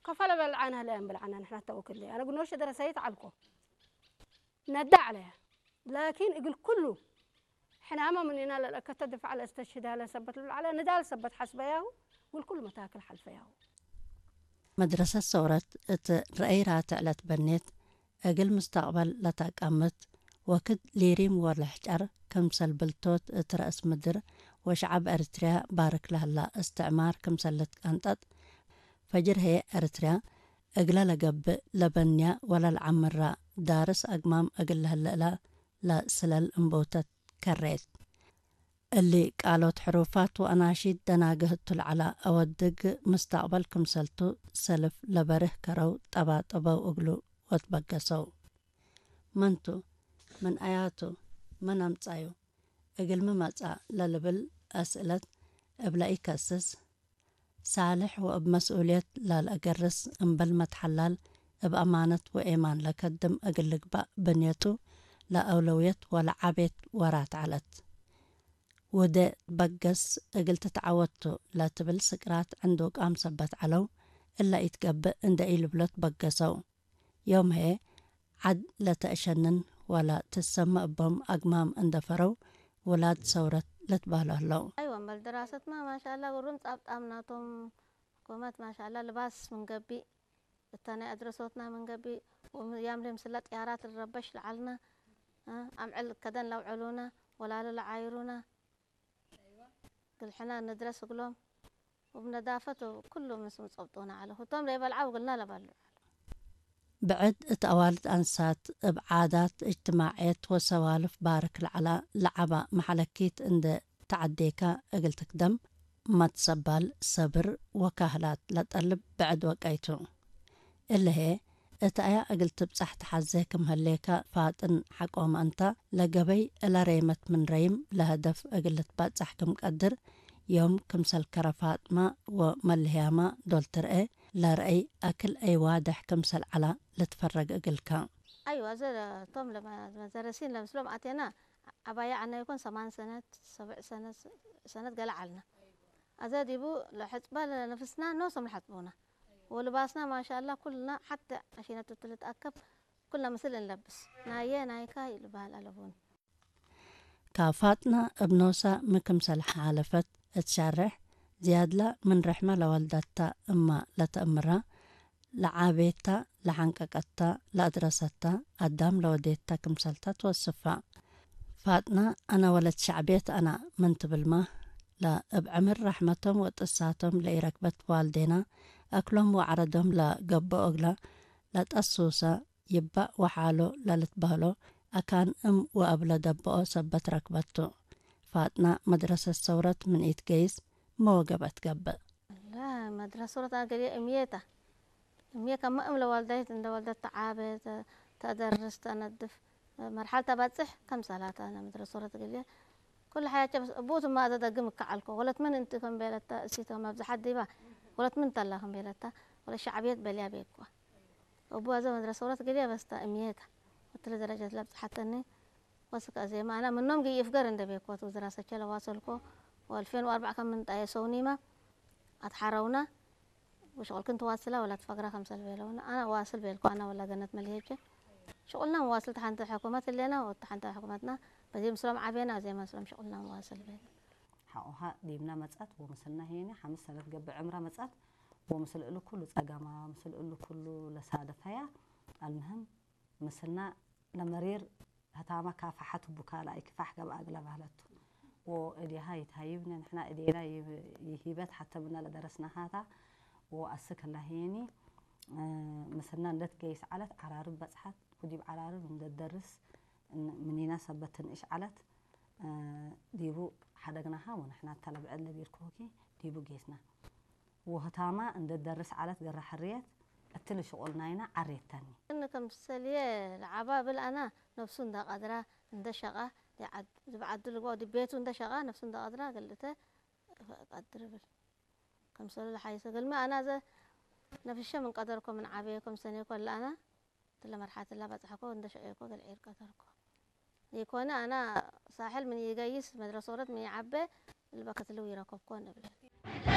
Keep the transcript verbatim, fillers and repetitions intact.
ከፈለ በልዓነ ህለ እምብል ዐነ ንሕነ ተወክል። አነ ግኖሽ ደረሰይት ዐልኮ ነዳ ዐለያ። ላኪን እግል ኩሉ ሕናመ ምኒና ለልአከተ ድፋዕ ለእስተሽህድ ሀለ ሰበት ልብል ዐለ። ንዳል ሰበት ሐስበያሁ ወልኩሉ መታክል ሐልፈያሁ። መድረሰት ሰውረት እት ረአይ ራትዕ ለትበኔት፣ እግል ምስተቅበል ለተአቀምት ወክድ ሊሪም ወለሕጨር ክምሰል ብልቶት እት ረአስ ምድር ወሸዐብ ኤሪትርያ ባርክ ለህላ እስትዕማር ክምሰል ልትቀንጠጥ፣ ፈጅር ህዬ ኤሪትርያ እግለ ለገብእ ለበንያ ወለልዐምራ ዳርስ አግማም እግል ለህለ እላ ለስለል እንቦተት ከሬት። እሊ ቃሎት ሕሩፋት ወአናሺድ ደናግህ እቱ ለዐላ አወድግ ምስተቅበል ክምሰልቱ ሰልፍ ለበርህ ከረው ጠባጠበው እግሉ ወትበገሰው። መንቱ? ምን አያቱ? መን አምጻዩ? እግልሚ መጽአ? ለልብል አስእለት እብ ለኢከስስ፣ ሳልሕ ወእብ መስኡልየት ላልአገርስ፣ እምበል መትሐላል እብ አማነት ወኤማን ለከድም እግል ልግባእ ብንየቱ ለአውለውየት ወለዓቤት ወራት ዐለት። ውዴ ትበገስ እግል ትትዐወት ቱ ለትብል ስቅራት ዕንዱቃም ሰበት ዐለው፣ እለ ኢትገብእ እንዴ ኢልብሎ ትበገሰው። ዮም ህዬ ዐድ ለተአሸንን ወለ ትሰመ እቦም አግማም እንደ ፈረው ውላድ ሰውረት ልትበህሎ ህለው። አይወ፣ እምበል ድራሰትመ ማሻአላ ግሩም ጻብጣም ናቶም። ሕኩመት ማሻአላ ልባስ ምን ገብእ፣ እተ ናይ አድረሶትና ምን ገብእ፣ ወያምሌ ምስለ ጥያራት ልረበሽ ለዐልነ፣ እ፣ አምዕል ከደን ለአውዐሉነ፣ ወላሊ ለዓይሩነ፣ እግል ሕነ ንድረስ እግሎም፣ ወእብ ነዳፈት ወኩሉ ምስል ጸብጡነ ዐለ። ህቶም ለኢበልዐው እግልነ ለበልዑ ዐለ። ብዕድ እት አዋልድ አንሳት እብ ዓዳት እጅትማዕየት ወሰዋልፍ ባርክ ለዐላ ለዐባ መሐለኪት እንዴ ተዐዴከ እግል ትክደም፣ መትሰባል፣ ሰብር ወካህላት ለጠልብ ብዕድ ወቀይ ቱ። እለ ህዬ፣ እት አያ እግል ትብጸሕ ተሐዜ ክም ህሌከ ፋጥን ሐቆመ እንተ፣ ለገበይ እለ ሬመት ምን ረይም ለሀደፍ እግል ልትበጸሕ ክም ቀድር፣ ዮም ክምሰል ከረ ፋጥመ ወመልህያመ ዶል ትርኤ፣ ለርአይ አክል አይ ዋድሕ ክምሰል ዐላ ልትፈረግ እግልከ። አይወ፣ አዜ ቶም ለመ-፣ መደረሲን ለምስሎም አቴና፣ ዐባየ ዐነ ይኮን ሰማን ሰነት፣ ሰብዕ ሰነት፣ ሰነት ገሌ ዐልነ። አዜ ዲቡ ለሕጽበ ለነፍስና ኖሶም ለሐጽቡነ። ወልባስና ማሻአላ ኩልና ሐቴ አሺነቱ እት ልትአከብ ኩልና ምስል እንለብስ። ናየ ናይካ ልበህል አለቡኒ። ካፋጥና እብ ኖሳ ሚ ክምሰል ሓለፈት እት ሸሬሕ፣ ዝያድላ ምን ርሕመ ለወልደታ እመ ለተአምራ፣ ለዓቤታ፣ ለሐንቀቀታ፣ ለአድረሰታ፣ አዳም ለወዴታ ክምሰልታ ትወስፋ። ፋጥና፣ አነ ወለት ሸዕብየት አነ ምን ትብልመ፣ ለእብ ዕምር ረሕመቶም ወጥሳቶም ለኢረክበት ዋልዴና፣ አክሎም ወዐረዶም ለገብኦ እግለ ለጠሱሰ፣ ይባእ ወሓሎ ለልትበህሎ አካን እም ወአብ ለደብኦ ሰበት ረክበቱ። ፋጥና መድረሰት ሰውረት ምን ኢትገይስ እመ ወገብአት ገብእ። ላ፣ መድረሰት ሰውረት አገሌ እምዬ ተ። እምዬ ከመ እም ለዋልዳይት እንደ ወልደት ተዓቤ፣ ተ-፣ ተደርስ፣ ተነድፍ። መርሐል ተበጽሕ ከም ሰላት አነ መድረሰት ሰውረት እግልዬ ኩሉ ሐያቼ በስ እቡ ትማ አዘ ደግም እከ ዐልኮ። ወለት ምን እንቲ ከም ቤለተ እሲቶ መብዝሐት ዲባ ወለት ምን ተላ ከም ቤለተ ወለት ሸዕብየት በልያ ቤኮ። እቡ አዘ መድረሰት ሰውረት እግልዬ በስ ተ እምዬ ተ። ወእትሊ ደረጀት ለብጽሐተኒ ወስክ አዜመ አነ ምኖም ግይ እፍገር እንደ ቤኮ ቱ ድራሰቼ ለዋሰልኮ ወአልፌን ወአርበዕ ከም እንጣየሰውኒመ አትሐረውነ። ወሽቁልክን ትዋስላ ወላ ትፈግራ ከምሰል ቤለውነ። አነ ዋስል ቤልኮ አነ ወላ ገነት መልሄቼ። ሽቁልና መዋስል ተሐንተ ሕኩመት ህሌና ወተሐንተ ሕኩመትና በዜ ምስሎም ዓቤና አዜ መስሎም ሽቁልና መዋስል ቤል። ሐቆሃ ዲብና መጽአት ወምስልና ሄኒ ሐምስ ሰነት ገብእ ዕምራ መጽአት ወምስል እሉ ኩሉ ጸገማ፣ ምስል እሉ ኩሉ ለሳደፈያ። አልምህም ምስልና ለመሪር ህታመ ካፈሐት እቡ ካልኣይ ክፋሕ ገብአ እግለ በህለቱ። ወእዴሃ ይትሃይብነ፣ ንሕና እዴና ይብ-፣ ይሂበት ሐተ ምነ ለደረስናሃታ። ወአስክ ህላ ሄኒ፣ እ፣ ምስልና እንደ ትገይስ ዐለት፣ ዐራርብ በጽሐት፣ ወዲብ ዐራርብ እንደ ትደርስ፣ እን-፣ ምኒና ሰበት ትንእሽ ዐለት፣ እ፣ ዲቡ ሐደግናሃ ወንሕና እተ ለብዕድ ለቤልኩሁኪ ዲቡ ጌስና። ወህታማ እንደ ትደርስ ዐለት ገረ ሕርየት፣ እትሊ ሽቁል ናይና ዐሬተኒ። እን ክምሰልዬ ለዐባ እብል አና፣ ነፍሱ እንደ ቀድራ እንደ ሸቃ፣ ዲብ ዐድ-፣ ዲብ ዐዱ ልግበእ ወዲብ ቤቱ እንደ ሸቃ፣ ነፍሱ እንደ ቀድራ ገልእተ ቀድር እብል። ክምሰሉ ለሐይሰ እግልሚ አና ዘ ነፍሸ ምን ቀደርኮ ምን ዐቤኮ ምን ሰኔኮ እለ አና፣ እትለ መርሐለት እለ በጽሐኮ እንደ ሸቄኮ እግል ዒር ቀደርኮ። ኢኮነ አና ሳሕል ምን ኢገይስ መድረሶረት ምን ኢዐቤ እልበ ክትልው ኢረከብኮ እንብል።